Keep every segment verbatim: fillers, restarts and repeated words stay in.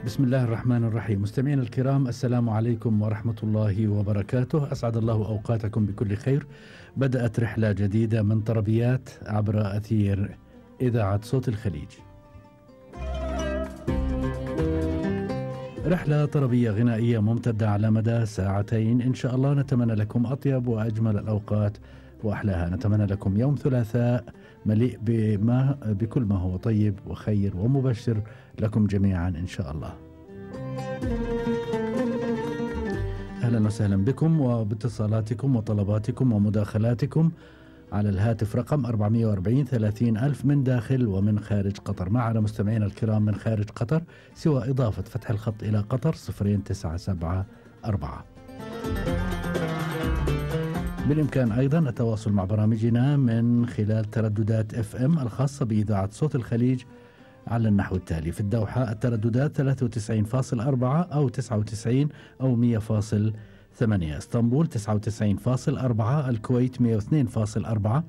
بسم الله الرحمن الرحيم. مستمعينا الكرام، السلام عليكم ورحمة الله وبركاته. أسعد الله أوقاتكم بكل خير. بدأت رحلة جديدة من طربيات عبر أثير إذاعة صوت الخليج. رحلة طربية غنائية ممتدة على مدى ساعتين إن شاء الله. نتمنى لكم أطيب وأجمل الأوقات وأحلاها. نتمنى لكم يوم ثلاثاء مليء بما بكل ما هو طيب وخير ومبشر لكم جميعا إن شاء الله. أهلا وسهلا بكم وباتصالاتكم وطلباتكم ومداخلاتكم على الهاتف رقم أربعمائة وأربعين ثلاثين ألف من داخل ومن خارج قطر. معنا مستمعينا الكرام من خارج قطر سوى إضافة فتح الخط إلى قطر صفرين تسعة سبعة أربعة. بالإمكان أيضا التواصل مع برامجنا من خلال ترددات اف ام الخاصة بإذاعة صوت الخليج على النحو التالي: في الدوحة الترددات ثلاثة وتسعين فاصلة أربعة أو تسعة وتسعين أو مئة فاصلة ثمانية، اسطنبول تسعة وتسعين فاصلة أربعة، الكويت مئة واثنين فاصلة أربعة،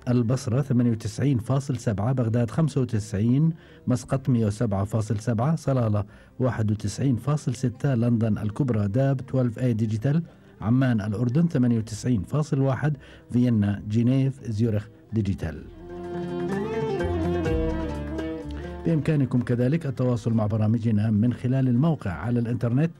البصرة ثمانية وتسعين فاصلة سبعة، بغداد خمسة وتسعين، مسقط مئة وسبعة فاصلة سبعة، صلالة واحد وتسعين فاصلة ستة، لندن الكبرى داب اثناشر اي ديجيتال، عمان الأردن ثمانية وتسعين فاصلة واحد، فيينا جنيف زيورخ ديجيتال. بإمكانكم كذلك التواصل مع برامجنا من خلال الموقع على الإنترنت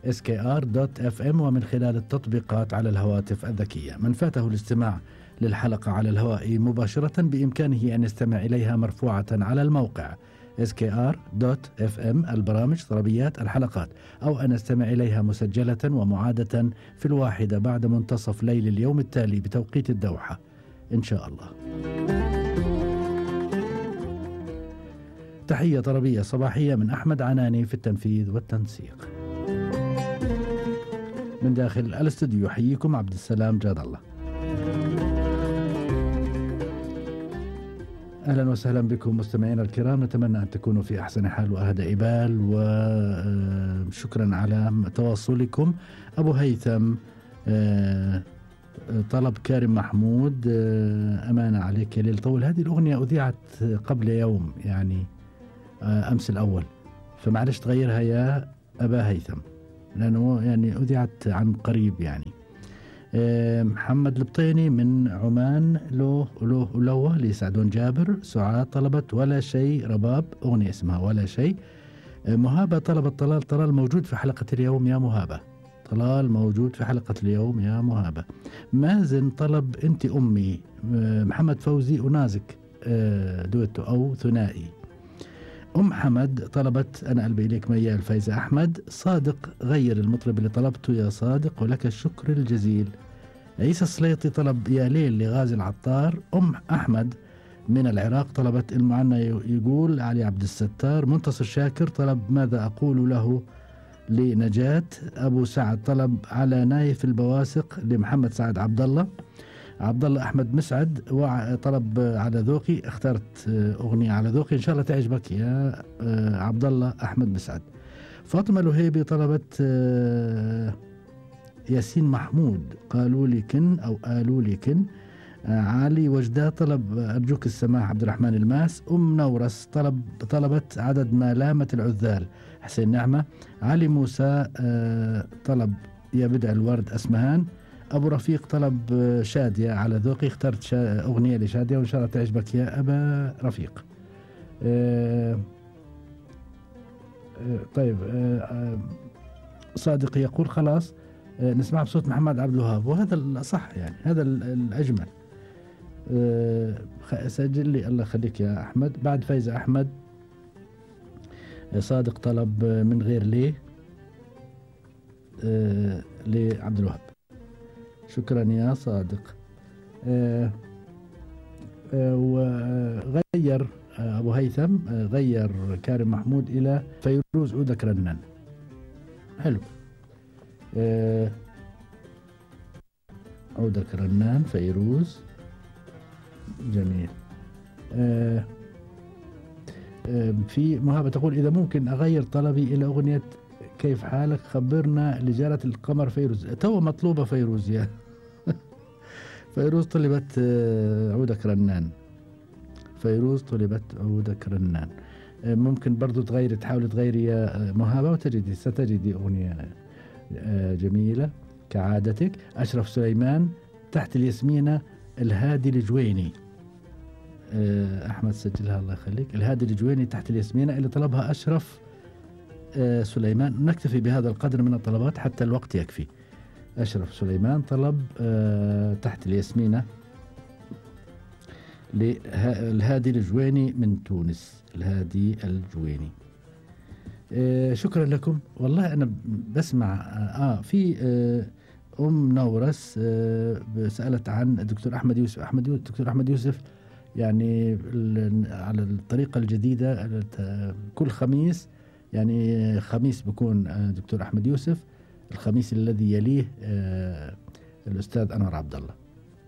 إس كي آر دوت إف إم ومن خلال التطبيقات على الهواتف الذكية. من فاته الاستماع للحلقة على الهواء مباشرة بإمكانه أن يستمع إليها مرفوعة على الموقع إس كي آر دوت إف إم البرامج طربيات الحلقات، أو أن يستمع إليها مسجلة ومعادة في الواحدة بعد منتصف ليل اليوم التالي بتوقيت الدوحة إن شاء الله. تحية طربية صباحية من أحمد عناني في التنفيذ والتنسيق. من داخل الاستوديو يحييكم عبد السلام جاد الله. أهلا وسهلا بكم مستمعينا الكرام. نتمنى أن تكونوا في أحسن حال وأهدى بال، وشكرا على تواصلكم. أبو هيثم طلب كارم محمود، أمانة عليك يا ليل طول. هذه الأغنية أذيعت قبل يوم، يعني أمس الأول، فمعلش تغيرها يا أبا هيثم لأنه يعني أذيعت عن قريب. يعني محمد البطيني من عمان، لو لو لو لسعدون جابر. سعاد طلبت ولا شيء، رباب أغنية اسمها ولا شيء. مهابة طلبت طلال. طلال موجود في حلقة اليوم يا مهابة. طلال موجود في حلقة اليوم يا مهابة. مازن طلب أنت أمي. محمد فوزي ونازك دويتو أو ثنائي. أم حمد طلبت أنا قلبي إليك ميال. فايزة أحمد. صادق غير المطرب اللي طلبته يا صادق ولك الشكر الجزيل. عيسى السليطي طلب يا ليل لغازي العطار. أم أحمد من العراق طلبت المعنى يقول علي عبد الستار. منتصر شاكر طلب ماذا أقول له لنجاة. أبو سعد طلب على نايف البواسق لمحمد سعد عبد الله. عبد الله أحمد مسعد طلب على ذوقي. اخترت أغنية على ذوقي إن شاء الله تعجبك يا عبد الله أحمد مسعد. فاطمة الوهيبي طلبت ياسين محمود قالوا لي كن أو قالوا لي كن. علي وجدة طلب أرجوك السماح عبد الرحمن الماس. أم نورس طلب طلبت عدد ما لامت العذال حسين نعمة. علي موسى طلب يا بدع الورد أسمهان. أبو رفيق طلب شادية على ذوقي. اخترت أغنية لشادية وإن شاء الله تعجبك يا أبا رفيق. أه أه طيب أه صادق يقول خلاص أه نسمع بصوت محمد عبد الوهاب، وهذا الأصح يعني هذا الأجمل. أه سجل لي الله يخليك يا أحمد. بعد فايزة أحمد صادق طلب من غير ليه أه لعبد الوهاب. شكرا يا صادق. آه آه وغير آه أبو هيثم آه غير كارم محمود إلى فيروز أودك رنان. حلو. آه أودك رنان فيروز جميل. آه آه في مهابة تقول إذا ممكن أغير طلبي إلى أغنية كيف حالك خبرنا لجارة القمر فيروز. تو مطلوبة فيروز يا فيروز طلبت عودك رنان. فيروز طلبت عودك رنان. آه، ممكن برضو تغيري، تحاولي تغيري يا مهابة وتجدي ستجدي أغنية آه، جميلة كعادتك. أشرف سليمان تحت الياسمينة الهادي الجويني. آه، أحمد سجلها الله يخليك. الهادي الجويني تحت الياسمينة اللي طلبها أشرف آه، سليمان. نكتفي بهذا القدر من الطلبات حتى الوقت يكفي. أشرف سليمان طلب آه، تحت الياسمينة للهادي الجويني من تونس. الهادي الجويني. آه شكرا لكم. والله أنا بسمع آه في آه أم نورس آه سألت عن الدكتور أحمد يوسف. أحمد يوسف الدكتور أحمد يوسف يعني على الطريقة الجديدة كل خميس، يعني خميس بكون آه دكتور أحمد يوسف، الخميس الذي يليه آه الأستاذ أنور عبد الله،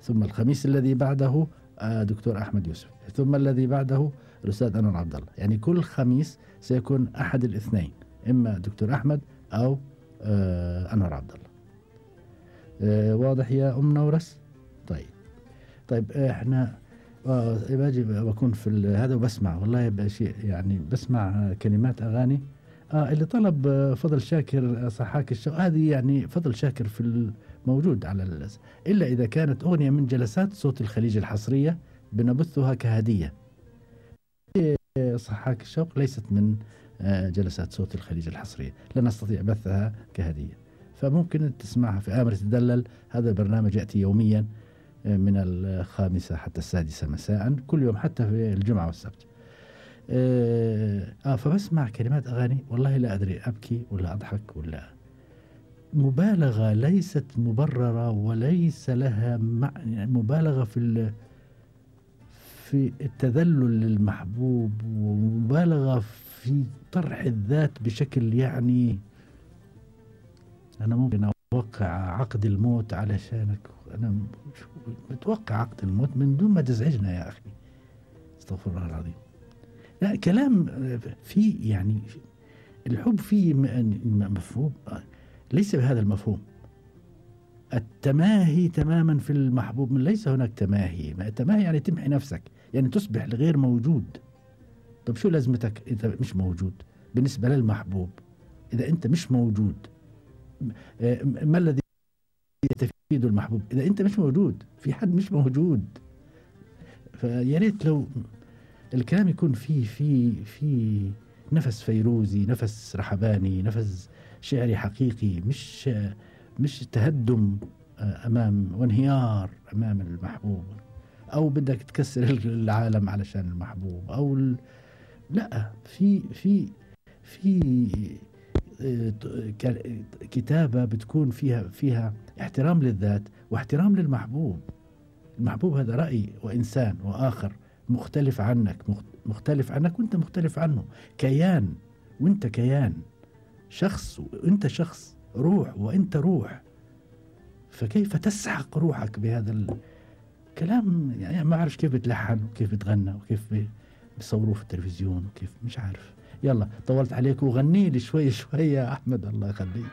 ثم الخميس الذي بعده آه دكتور أحمد يوسف، ثم الذي بعده الأستاذ أنور عبد الله. يعني كل خميس سيكون أحد الاثنين، إما دكتور أحمد أو آه أنور عبد الله. آه واضح يا أم نورس؟ طيب طيب إحنا آه باجي بكون في هذا وبسمع والله شيء، يعني بسمع كلمات أغاني آه اللي طلب آه فضل شاكر صحاك الشوق، هذه يعني فضل شاكر في الموجود على الأس... إلا إذا كانت أغنية من جلسات صوت الخليج الحصرية بنبثها كهدية. صحاك الشوق ليست من جلسات صوت الخليج الحصرية، لا نستطيع بثها كهدية، فممكن تسمعها في آمر تدلل. هذا البرنامج يأتي يوميا من الخامسة حتى السادسة مساء كل يوم، حتى في الجمعة والسبت. آه فبسمع كلمات أغاني والله لا أدري أبكي ولا أضحك ولا مبالغة ليست مبررة، وليس لها مبالغة في في التذلل للمحبوب، ومبالغة في طرح الذات بشكل يعني أنا ممكن أوقع عقد الموت علشانك. أنا متوقع عقد الموت من دون ما تزعجنا يا أخي، استغفر الله العظيم. لا كلام في يعني الحب فيه مفهوم، ليس بهذا المفهوم التماهي تماما في المحبوب. من ليس هناك تماهي. التماهي يعني تمحي نفسك، يعني تصبح غير موجود. طب شو لازمتك إذا مش موجود بالنسبة للمحبوب؟ إذا أنت مش موجود ما الذي يستفيد المحبوب إذا أنت مش موجود؟ في حد مش موجود. فيا ريت لو الكلام يكون فيه في في نفس فيروزي، نفس رحباني، نفس شعري حقيقي، مش مش تهدم أمام وانهيار أمام المحبوب، أو بدك تكسر العالم علشان المحبوب، أو ال... لا في في في كتابة بتكون فيها فيها احترام للذات واحترام للمحبوب. المحبوب هذا رأي وإنسان وآخر مختلف عنك، مختلف عنك وانت مختلف عنه، كيان وانت كيان، شخص وانت شخص، روح وانت روح. فكيف تسحق روحك بهذا الكلام؟ يعني ما أعرف كيف بتلحن وكيف بتغنى وكيف بيصوروه في التلفزيون وكيف، مش عارف. يلا طولت عليك وغني لي شوي شوي يا أحمد الله يخليك.